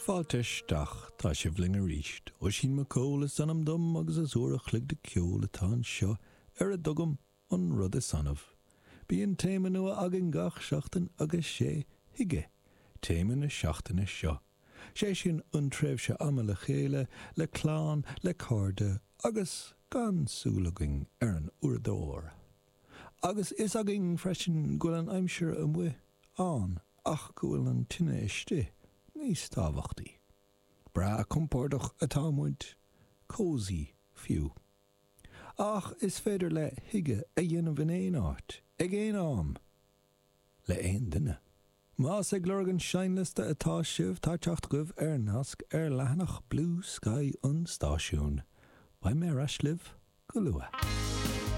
Fáilte isteach, tá sibh linn arís. Oisín McCall is ainm dom agus is uair a chloig de ceol atá anseo ar a dtugaim an rud is annamh. Bíonn téama nua againn gach seachtain agus sé Hygge téama na seachtaine seo. Sé sin an tréimhse ama le chéile, le clann, le cairde agus gan súil againn ar an uaireadóir. Agus fhios againn freisin go bhfuil an aimsir amuigh ann ach go bhfuil an tine istigh níos tábhachtaí. Breá compordach atá muid, cozy fiú. Ach is féidir le hygge a dhéanamh in aon áit, ag aon am, le aon duine. Más ag lorg an seinnliosta atá sibh, tá teacht agaibh ar nasc ar leathanach Bluesky an stáisiúin. Beidh mé ar ais libh go luath.